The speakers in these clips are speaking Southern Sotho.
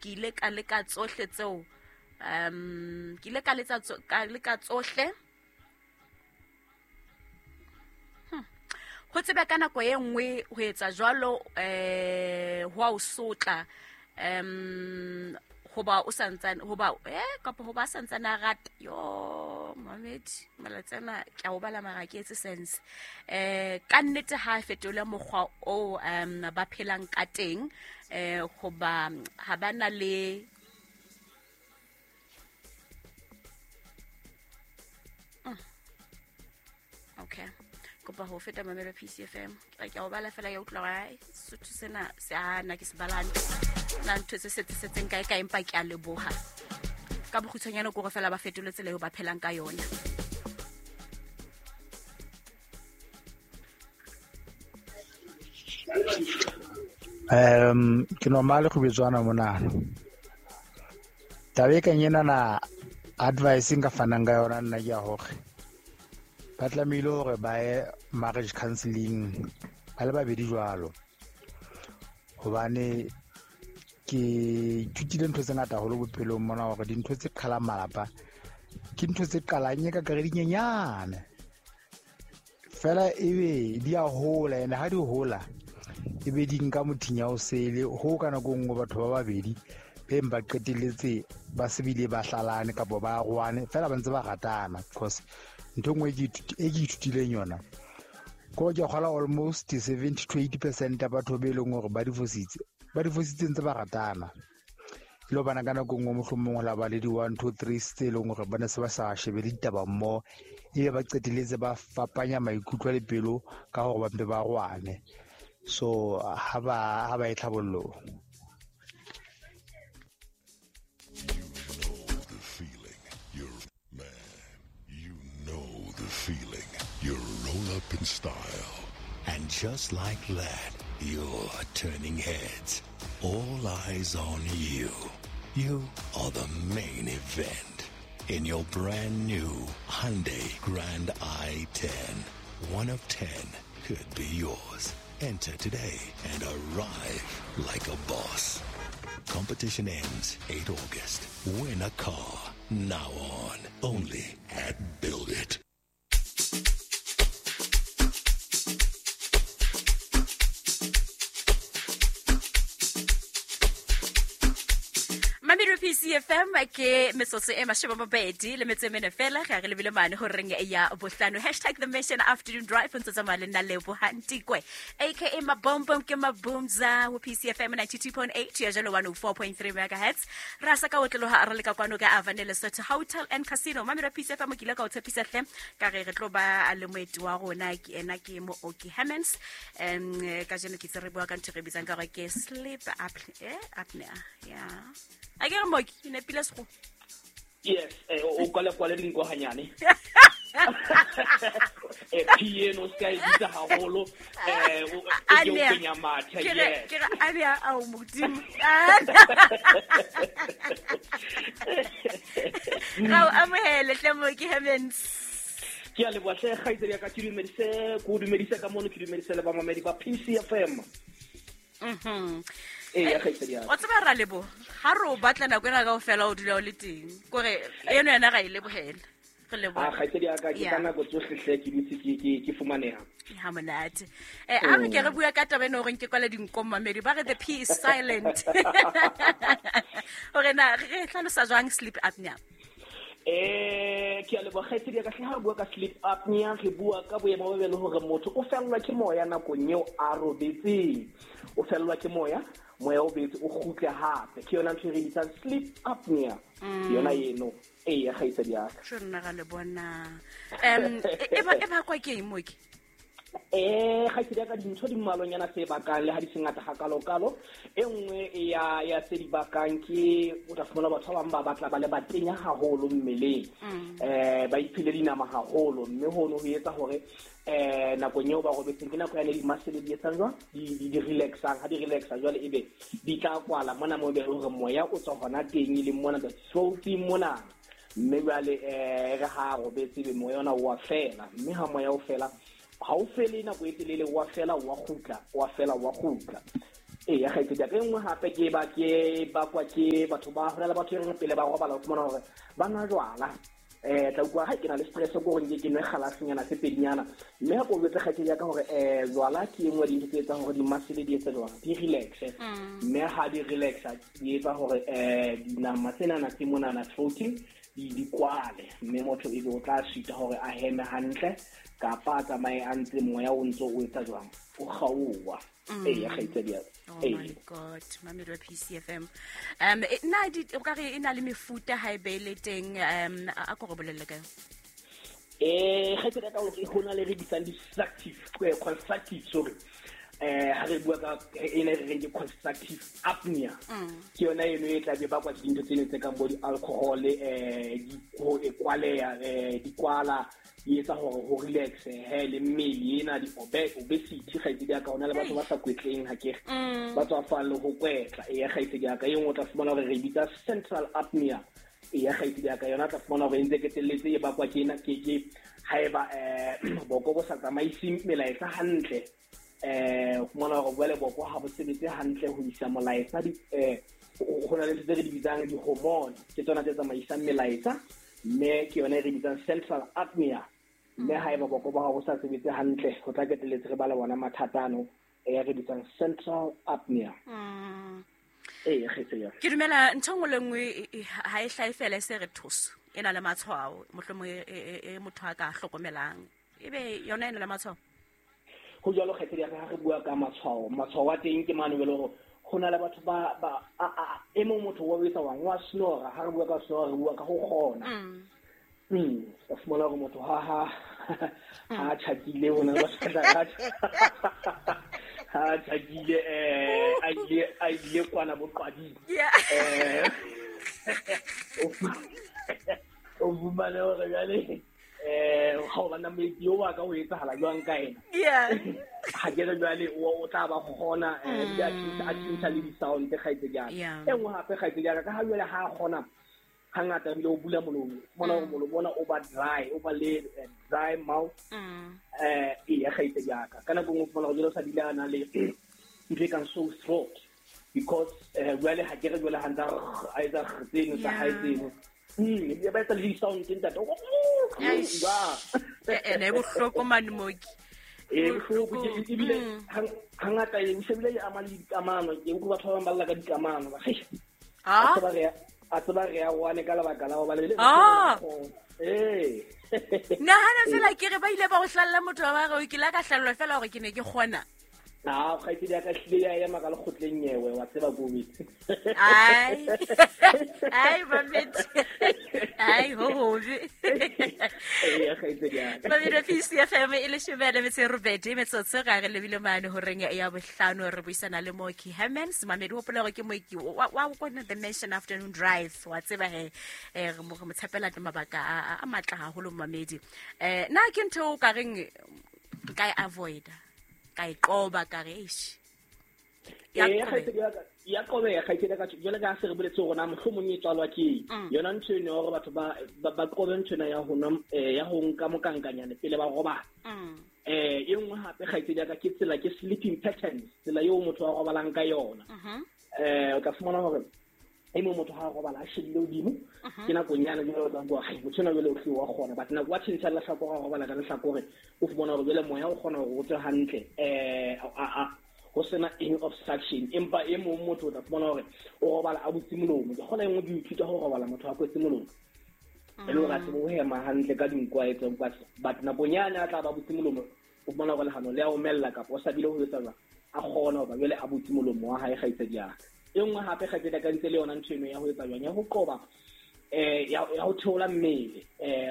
Ke ile ka leka tsohle tseo ke ile ka letsa ka leka tsohle. Ho tsebe ka nako e nngwe ho etsa jwalo ho a o sotla hoba o santsane hoba kapa hoba a santsane a rata yo mamedi malatsi ana ke a o bala mara ke etse sense ka nnete ha a fetole mokgwa o ba phelang ka teng hoba ha ba na le okay kopa ho feta mamelo PCFM ke a o bala fela ya utlwa gore sotho sena se a nna ke se balane na ntho tse setseng kae kae empa ke a leboga ka bokgutshwanyane kore fela ba fetole tsela eo ba phelang ka yona. Ke normal go betswana monana. Taba e kang enana advice nka fanang ka yona nna ke ya hore ba tlamehile hore ba ye marriage counseling ba le babedi jwalo, hobane ke ithutile ntho tse ngata haholo bophelong mona hore dintho tse qhalang malapa ke ntho tse qalang e ka kare dinyenyane fela ebe di a hola, ene ha di hola ebe di nka mothinya o sele ho ka nako nngwe batho ba babedi beng ba qetelletse ba se bile ba hlalane kapa ba arohane fela ba ntse ba ratana. Because ntho nngwe e ke ithutileng yona ko ke kgola almost 70 to 80% ya batho be leng hore ba difositse ntse ba ratana. Le bana ka nako nngwe mohlomong la ba le di 1 2 3 tse leng hore ba ne se ba sa shebe le ditaba mmoho, ebe ba qetelletse ba fapanya maikutlo le pelo ka hore ba mpe ba arohane. So ha ba e tlhabollong. Feeling you roll up in style, and just like that, you're turning heads. All eyes on you. You are the main event in your brand new Hyundai Grand i10. 1 of 10 could be yours. Enter today and arrive like a boss. Competition ends 8 August. Win a car now on only at Build It. Mamelo PCFM ke metsotso e 22 le metso e mene fela ga re lebile mane ho reng ya bohlano. Hashtag the mission afternoon drive ntse tsamaya le nna Lebo Hantikwe aka Mabombom ke Mabumza ho PCFM 92.8 ya jalo 104.3 megahertz. Ra sa ka otloha re le ka kwano ka Avane Lesotho Hotel and Casino. Mamelo PCFM ke ile ka o tshepisa hle ka re re tlo ba le moeti wa rona ke ena ke Mooki Hemmens. Ka jeno ke tse re bua ka ntho re bitsang ka gore ke sleep apnea. Yeah. A ke re Mooki ne pila sego. Yes, o kwale kwale dinko hanyane. Piano ska e bitsa haholo o ke o kenya mathe. Yes. Ke re a ao modimo. Ga o amohele hle Mooki Hemmens. Ke a leboha hle kgaitsedi ya ka, ke dumedise ko dumedise ka mono, ke dumedise le ba mamedi ba PCFM. O tseba ra lebo ha re o batla nako ena kaofela o dula o le teng kore eno yena ga e lebohela re leboha. Kgaitsedi ya ka ke ka nako tsohle hle ke dutse ke fumaneha. Ha monate. A re ke re bua ka taba eno horeng ke kwala dinko mamedi ba re the P is silent. Hore na re hlalosa jwang sleep apnea? Ke a leboha kgaitsedi ya ka hle. Ha re bua ka sleep apnea re bua ka boemo bo be le hore motho o fellwa ke moya nakong eo a robetseng. O fellwa ke moya, moya o betse o kgutle hape. Ke yona ntho e re bitsang sleep apnea. Yona eno eya kgaitsedi ya ka. Tjho nna ga le bona. E ba kwa ke eng Mooki? Kgaitsedi ya ka dintho di mmalwanyana tse bakang le ha di se ngata hakalokalo. E nngwe ya tse di bakang ke o tla fumana batho ba bang ba batla ba le batenya haholo mmeleng. Ba iphile dinama haholo mme hono ho etsa hore nakong eo ba robetseng ke nako ya ne di-muscle di etsang jwang di relaxang. Ha di relaxa jwale ebe di tla kwala mona mo be hore moya o tswa hona teng e leng mona the throat mona, mme jwale re ha robetse be moya ona wa fela, mme ha moya o fela ha o fele nako e telele wa fela wa kgutla wa fela wa kgutla. Eya kgaitsedi ya ka. E nngwe hape ke ba ke bakwa ke batho ba ho na le batho e reng pele ba robala o fumana hore ba nwa jwala. Tla utlwa ha ke na le stress ko gore nke ke nwe galasenyana se pedinyana, mme ha ko jwetse kgaitsedi ya ka hore jwala ke e nngwe ya dintho tse etsang hore di-muscle di etse jwang, di relaxe. Mme ha di relaxa di etsa hore dinama tsenana tse monana throating di kwale, mme motho ebe o tla sita hore a heme hantle kapa a tsamaye a ntse moya o ntso o etsa jwang, o kgaowa. Eya kgaitsedi ya ka. Oh my God, mamedi wa PCFM. Na di o ka re e na le mefuta ha e be le teng, a ko re bolelle ka yona. Kgaitsedi ya ka, ho na le re bitsang di-structive, constructive, sorry. Ha re bua ka ena e re reng ke constructive apnea. Ke yona eno e tla be bakwa ke dintho tseno tse kang bo di-alcohol, di ho e kwaleha, di kwala, di etsa hore ho relax, he le mmele ena di obesity kgaitsedi ya ka. Ho na le batho ba sa kwetleng ha ke re, ba tswafang le ho kwetla. Eya kgaitsedi ya ka. E nngwe o tla fumana hore re bitsa central apnea. Eya kgaitsedi ya ka, yona o tla fumana hore e ntse qetelletse e bakwa ke ena, ke haeba boko bo sa tsamaise melaetsa hantle. O fumana hore jwale boko ha bo sebetse hantle ho isa molaetsa di, ho na le ntho tse re di bitsang di-hormone, ke tsona tse tsamaisang melaetsa, mme ke yona e re bitsang central apnea. Mme haeba boko ba hao bo sa sebetse hantle, ho tla qetelletse re ba le bona mathata ano e re bitsang central apnea. Ee, kgaitsedi ya ka. Ke dumela ntho e nngwe le nngwe ha e hlahe fela e se re thoso, e na le matshwao, mohlomong e motho a ka hlokomelang, ebe yona e na le matshwao. Ho jwalo kgaitsedi ya ka, ha re bua ka matshwao, matshwao a teng ke mane jwale hore ho na le batho ba, ba, a, a, a, e mong motho wa etsa wang, wa snora. Ha re bua ka snora, re bua ka ho kgona. O fumana hore motho ha tjhakile, ho na le batho ba tla ha tjhakile, a ile kwana boqwading. O fumane hore jwale, ha o bana moeti o wa ka o etsahala jwang ka ena? Ha ke re jwale o tla ba kgona, ebile a tjhentjha le di-sound kgaitsedi ya ka. E nngwe hape kgaitsedi ya ka, ka ha jwale ha a kgona hangata ebile o bula molomo, fumana hore molomo ona o ba dry, o ba le dry mouth. Eya kgaitsedi ya ka. Ka nako e nngwe o fumana hore jwale o sa bile a na le ntho e kang sore throat, because jwale ha ke re jwale ha ntse a etsa tseno tsa hae tseno. Ebile ba etsa le di-sound tse ntate. Eish. Ba. Ne e bohloko mane mooki. Bohloko ke, ebile hangata e se bile e ama le dikamano. Ke utlwa batho ba bang ba lla ka dikamano. Ba re, a tseba re ya, a tseba re ya wane ka lebaka la ho ba le le Nahana fela ke re ba ile ba o hlalla motho wa ba re, ke la ka hlallwa fela hore ke ne ke kgona. Ah, kgaitsedi ya ka hlile ya ema ka lekgotleng nyewe, wa tseba ko betse. Ai. Ai, Mamedi. Ai, ho hobe. Ee, kgaitsedi ya ka. Mamedi wa PCFM e leshome le metso e robedi, metsotso ga re lebile mane horeng ya bohlano, re buisana le Mooki Hermans. Mamedi, hopola hore ke mooki wa kwana The Nation Afternoon Drive, wa tseba he, re mo tshepela mabaka a matla haholo Mamedi. Na ke ntho o ka reng nka e avoid-a, ka e qoba, ka re, eish. Ya Ee, qobeha. kgaitsedi ya ka, ya qobeha, kgaitsedi ya ka, jwale ka ha se re boletse hore na mohlomong e tswalwa ke eng. Yona ntho eno ya hore batho ba qobe ntho ena ya ho nwa, ya ho nka mokankanyane pele ba robala. E nngwe hape kgaitsedi ya ka ke tsela, ke sleeping patterns, tsela eo motho a robalang ka yona. O tla fumana hore e mong motho ha a robala a shebile hodimo, ke nakong yane jwale o tla bua, hai, motho enwa jwale o hlile wa kgona, but nako wa tjhentjha lehlakore, a robala ka lehlakore, o fumana hore jwale moya o kgona hore o tswe hantle, ho sena any obstruction. Empa e mong motho o tla fumana hore o robala a butse molomo. Ke kgona e nngwe ke ithuta ho robala motho a kwetse molomo, e le hore a tsebe ho hema hantle ka dinko a etseng, but nakong yane a tla ba butse molomo, o fumana hore lehano le a omella kapa o sa bile ho etsa jwang, a kgona hoba jwale a butse molomo wa hae kgaitsedi ya ka. E nngwe hape kgaitsedi ya ka ntse le yona ntho eno ya ho etsa jwang, ya ho qoba, ya ho theola mmele.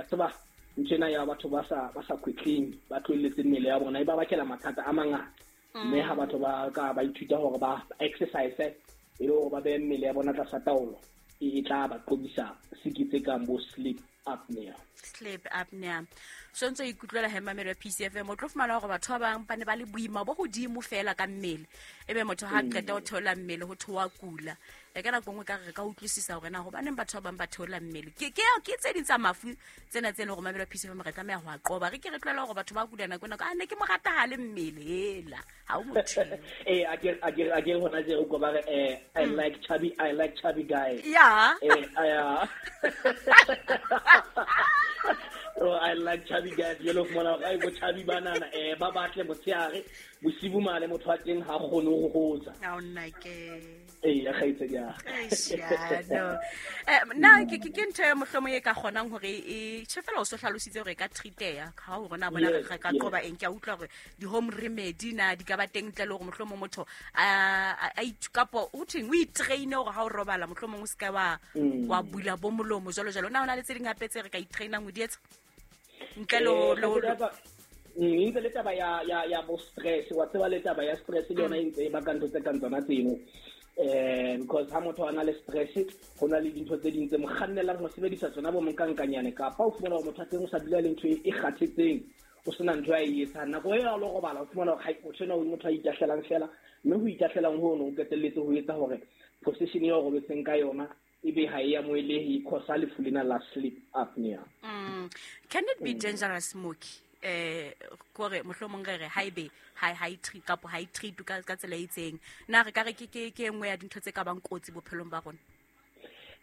Tseba ntho ena ya batho ba sa kwetleng, ba tlohelletse mmele ya bona, e ba bakela mathata a mangata. Mme ha batho ba ka ba ithuta hore ba exercise, e le hore ba behe mmele ya bona tlasa taolo, e tla ba qobisa siki tse kang bo sleep apnea. Sleep apnea. So ntse o ikutlwela he mamelo ya PCFM, o tlo fumana hore batho ba bang ba ne ba le boima bo hodimo fela ka mmele, ebe motho ha qeta ho theola mmele ho thoa kula. E ka nako nngwe ka re ka utlwisisa hore na hobaneng batho ba bang ba theola mmele. Ke tse ding tsa mafu tsena tse leng hore mamelo ya PCFM re tlameha ho a qoba. Re ke re tlohela hore batho ba kula nako ena, a ne ke mo rata ha le mmele hela ha o motho. A ke hona je o ko ba re I like chubby, I like chubby guys. Yeah. Oh, I like chubby guys. Jalo fumana hore ai bo chubby banana ba batle motshehare bosibu mane motho wa teng ha kgone ho hotsa. Ha o nna ke. Ee, kgaitsedi ya. Eish, no. Na ke ntho e mohlomong e ka kgonang hore e tjhe fela o so hlalositse hore e ka treat-eha ha o rona bona re ka qoba eng. Ke a utlwa hore di-home remedy na di ka ba teng ntle le hore mohlomong motho a kapo o thweng o itraine hore ha o robala mohlomong o se ka wa bula bo molomo jwalo jwalo. Na hona le tse ding hape tse re ka itrainang ho di etsa ntle le e ntse le taba ya bo stress, wa tseba le taba ya stress le yona e ntse e baka ntho tse kang tsona tseno. Because ha motho a na le stress ho na le dintho tse ding tse mo kgannelang ho sebedisa tsona bo monkankanyane, kapa o fumana hore motho a teng o sa dula le ntho e kgathetseng, o sena ntho a e etsang. Nako e a lo robala o fumana hore motho ena o motho a itahlelang fela, mme ho itahlelang hono o qetelletse ho etsa hore position eo robetseng ka yona ebe ha e amohelehe, e cause lefu lena la sleep apnea. Can it be dangerous, Mooki? Kore mohlomong re re haebe ha e treat kapo ha e treat ka tsela e itseng, na re ka re ke e nngwe ya dintho tse ka bang kotsi bophelong ba rona?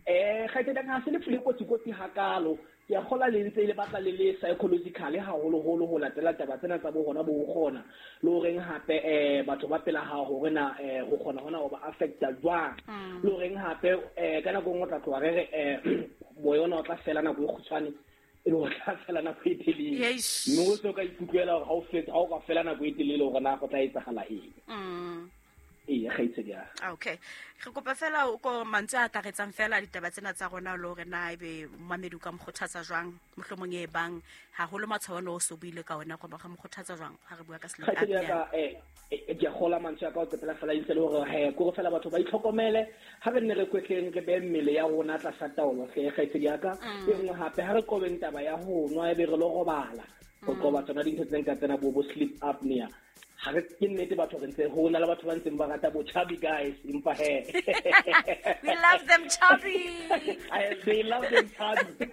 Kgaitsedi ha se lefu le kotsi hakalo. Ke a kgola le ntse le batla le le psychologically haholoholo ho latela taba tsena tsa bo hona bo kgona le horeng hape batho ba pela hao hore na ho kgona hona ho ba affecta jwang, le horeng hape ka nako nngwe o tla tloha re re moya ona o tla fela nako e kgutshwane, e le o tla fela nako e telele, mme o se o ka ikutlwela hore ha o fetsa ha o ka fela nako e telele hore na go tla etsahala eng. Ee, kgaitsedi ya. Okay, re kopa fela o ko mantswe a akaretsang fela ditaba tsena tsa rona le hore na ebe momamedi o ka mo kgothatsa jwang mohlomong e bang haholo matshwao ana o so buile ka ona, goba ga mo kgothatsa jwang ha re bua ka sleep Kgaitsedi ya apnea? ka, ke a kgola mantswe a ka o qetela fela itse le hore he kore fela batho ba itlhokomele, ha re nne re kwetleng re behe mmele ya rona tlasa taolo hle kgaitsedi ya ka. E nngwe hape ha re qobeng taba ya ho nwa ebe re lo robala, ho qoba tsona dintho tse nka tsena bo sleep apnea. Ha re ke nnete batho re ntse ho na le batho ba ntseng ba rata bo chubby guys, empa he we love them chubby. They love them chubby.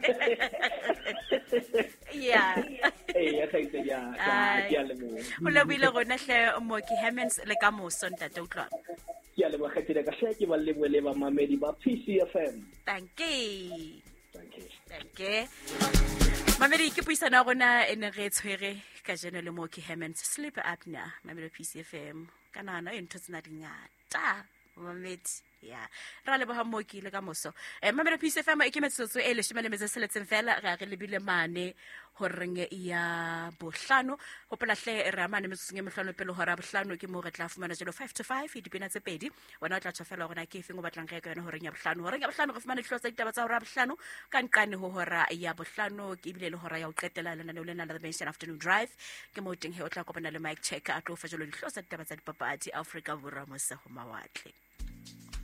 Yeah. Ee, kgaitsedi ya ka, ke a leboha. O lebohile rona hle Mooki Hermans, le ka moso ntate utlwa. Ke a leboha kgaitsedi ya ka hle, ke ba lebohe le bamamedi ba PCFM. Thank you. Thank you. Thank you. Mamedi, ke puisano ya rona e ne re tshwere kajeno le Mooki Hermans, sleep apnea, mamelo PCFM. Ka nahana e ntho tsena di ngata mamedi. Ya ra leboha Mooki le ka moso. Mamelo PCFM e ke metsotso e 16 fela re a re lebile mane horeng ya bohlano. Hopola hle re amane metsotsong e mehlano pele hora ya bohlano, ke moo re tla fumana jalo 5 to 5 dipina tse pedi. Wena o tla tjho fela hore na ke efeng o batlang re ye ka yona horeng ya bohlano. Horeng ya bohlano re fumana dihlooho tsa ditaba tsa hora ya bohlano, ka nqane ho hora ya bohlano ke ebile le hora ya ho qetela lenaneo lena la The Nation Afternoon Drive. Ke moo teng he o tla kopana le Mike Checker a tlo o fa jalo dihlooho tsa ditaba tsa dipapadi Afrika Borwa mose ho mawatle.